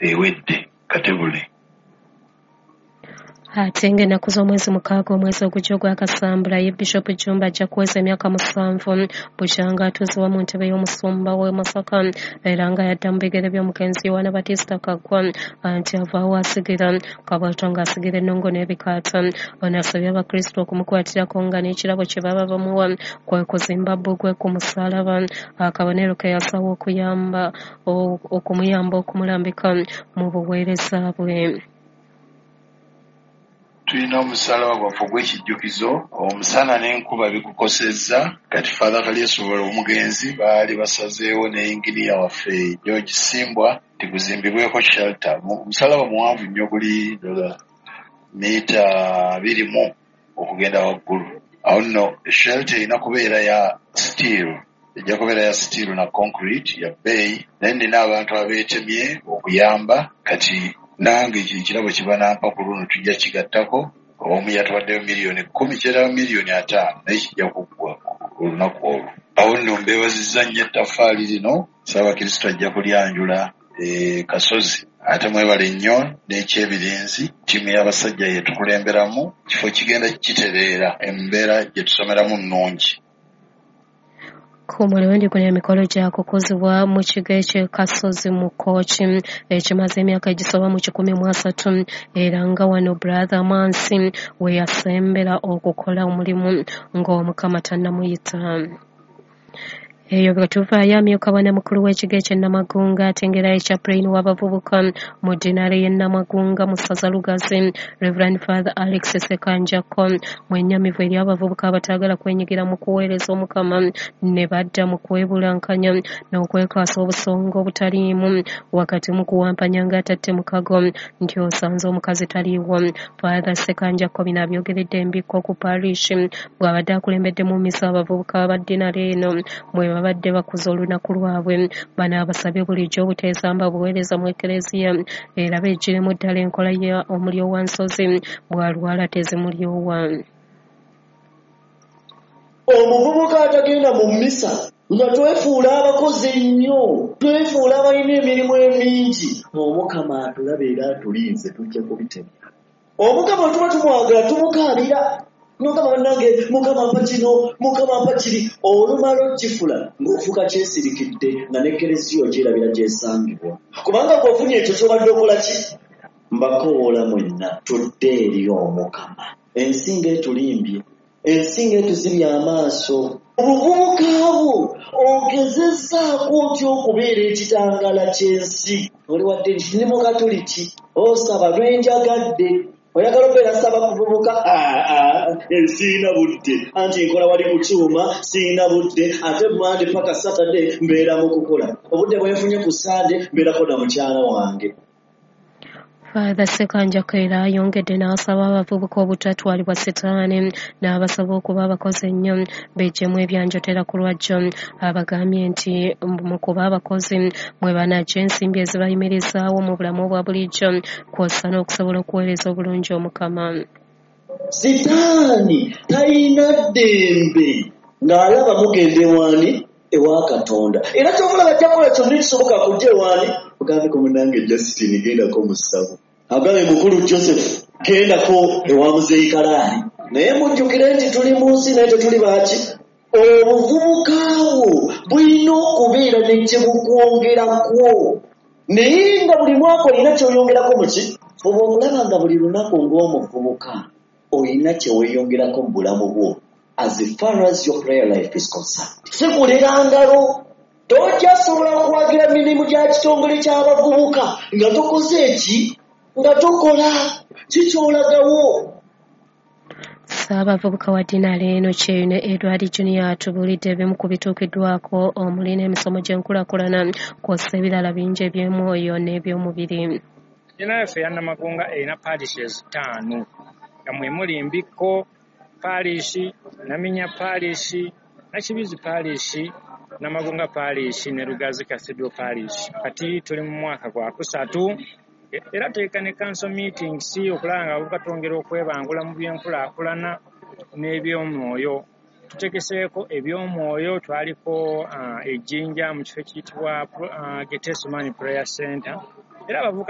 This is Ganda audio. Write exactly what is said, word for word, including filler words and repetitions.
Ewedde Katebule. Ate ng'ennaku z'omwezi mukaaga omwezi ogujja ogwa Kasambula, ye Bishop Jumba ajja kuweza emyaka musanvu bukyanga atuuzibwa mu ntebe y'omusumba w'e Masaka, era nga yadda mu bigere by'omugenzi Yowaana Batista Kaggwa nti avaawo asigira Kabwato ng'asigira ennongo n'ebikaata. Ono asabye Abakristo okumukwatirako nga n'ekirabo kye baba bamuwa kwe kuzimba bbugwe ku musaalaba, akabonero ke yasawo okuyamba okumuyamba okumulambika mu buweereza bwe. Tulina omusalaba gwaffe ogw'ekijjukizo, omusana n'enkuba bigukosezza. Kati Father Kalyesobola omugenzi baali basazeewo ne yinginiya waffe George Simbwa tiguzimbibweko shelter. Omusalaba muwanvu nnyo, guli mita abiri mu okugenda waggulu. Awo nno shelter erina kubeera ya steel, ejja kubeera ya steel na concrete ya bbeeyi, naye nina abantu abeetemye okuyamba. Kati nange ekirabo kibanampa ku luno tujja kigattako. Omu yatuwaddeyo miliyoni kkumi, kyerayo miliyoni ataano, naye kijja kuggwa olunaku olwo. Awo nno mbeebazizza nnyo ettaffaali lino, Ssaabakristo ajja kulyanjula e Kasozi. Ate mwebale nnyo n'ekyebirinzi, ttiimu y'abasajja yetukulemberamu, kifo kigenda kitereera, embeera gye tusomeramu nnungi. Ku mulundi guno emikolo gyakukuzibwa mu kigo eky'e Kasozi mu Kkooki ekimaze emyaka egisoba mu kikumi mu asatu, era nga wano Brother Mansi we yasembera okukola omulimu ng'Omukama tannamuyita. Eyo bwe tuvaayo, amyuka bwanamukulu w'ekigo eky'e Namagunga ate ng'era ye chaplain w'abavubuka mu ddinaale y'e Namagunga mu ssaza Lugazi, Reverend Father Alex Ssekanjako mwennyamivu eri abavubuka abataagala kwenyigira mu kuweereza Omukama ne badda mu kwebulankanya n'okwekaasa obusonga obutaliimu wakati mu kuwampanya ng'atatte mukago nti osanze omukazi taliiwo. Father Ssekanjako bino abyogeredde Embikko ku parish bw'abadde akulembedde mu mmisa abavubuka ba ddinaale eno mwe babadde bakuza olunaku lwabwe. Bano abasabye bulijjo obuteesamba buweereza mu Ekereziya era beeggyiremu ddala enkola ya omulyowa nsozi bw'alwala tezimulyowa. Omuvubuka atagenda mu mmisa nga twefuula abakozi ennyo, twefuula abalina emirimu emingi, Omukama atulaba era atulinze, tujja kubitemya. Omukama tuba tumwagala tumukaabira, Mukama bannange, Mukama mpa kino, Mukama mpa kiri. Olumala okifula ng'ofuuka kyesirikidde nga n'Ekereziya ogyerabira gy'esangibwa, kubanga bw'ofunye ekyo ky'obadde okola ki? Mbakowoola mwenna tudde eri Omukama. Ensi ng'etulimbye, ensi ng'etuzibye amaaso. Obuvubuka bwo ogezezzaako otya okubeera ekitangala ky'ensi? Oli wadde nti ndi Mukatuliki, osaba lwenjagadde, oyagala okubeera saba kuvubuka, siina budde, anti nkola wali ku kyuma, siina budde, ate Mande paka Saturday mbeera mu kukola, obudde bwe nfunye ku Sande mbeerako na mukyala wange. Father Ssekanjako era ayongedde n'asaba abavubuka obutatwalibwa sitaani n'abasaba okuba abakozi ennyo beggyemu ebyanjotera ku lwajjo. Abagambye nti mu kuba abakozi mwe banaggya ensimbi ezibayimirizaawo mu bulamu obwa bulijjo kw'ossa n'okusobola okuweereza obulungi Omukama. Sitaani talina ddembe ng'alaba mugenda ewaani ewa Katonda, era ky'okulaba ajja kukola kyonna ekisoboka kujja ewaani. Ogambeko munnange Justin gendako mu ssabo, agambe mukulu Joseph gendako ewa Muzeeyi Kalaali. Naye mujjukire nti tuli mu nsi naye tetuli baaki. Obuvubuka bwo bulina okubeera ne kye bukwongerakwo, naye nga buli mwaka olina ky'oyongerako mu ki? Fuba okulaba nga buli lunaku ng'omuvubuka olina kye weeyongerako mu bulamu bwo as far as your prayer life is concerned. Si kulera ngalo, tojja sobola kuwagira mirimu gya kitongole ky'abavubuka nga tokoze eki, nga tokola kikyolagawo. Ssaabavubuka wa ddinaale eno Kyeyune Edward Junior atubuulidde ebimu ku bituukiddwako omuli n'emisomo gy'enkulaakulana kw'ossa ebirala bingi eby'omwoyo n'eby'omubiri. Ddinaale yaffe eya Namagunga erina parishes ttaano nga mwe muli Mbikko Parish, Naminya Parish, Nakibizi Parish, Namagunga Parish ne Lugazi Cathedral Parish. Kati tuli mu mwaka gwa kusatu era tuteeka ne council meetings okulaba nga abavubuka twongera okwebangula mu by'enkulaakulana n'ebyomwoyo. Tutegeseeko ebyomwoyo, twaliko uh, ejjinja mu kifo ekiyitibwa uh, Getsemani Prayer Center era abavubuka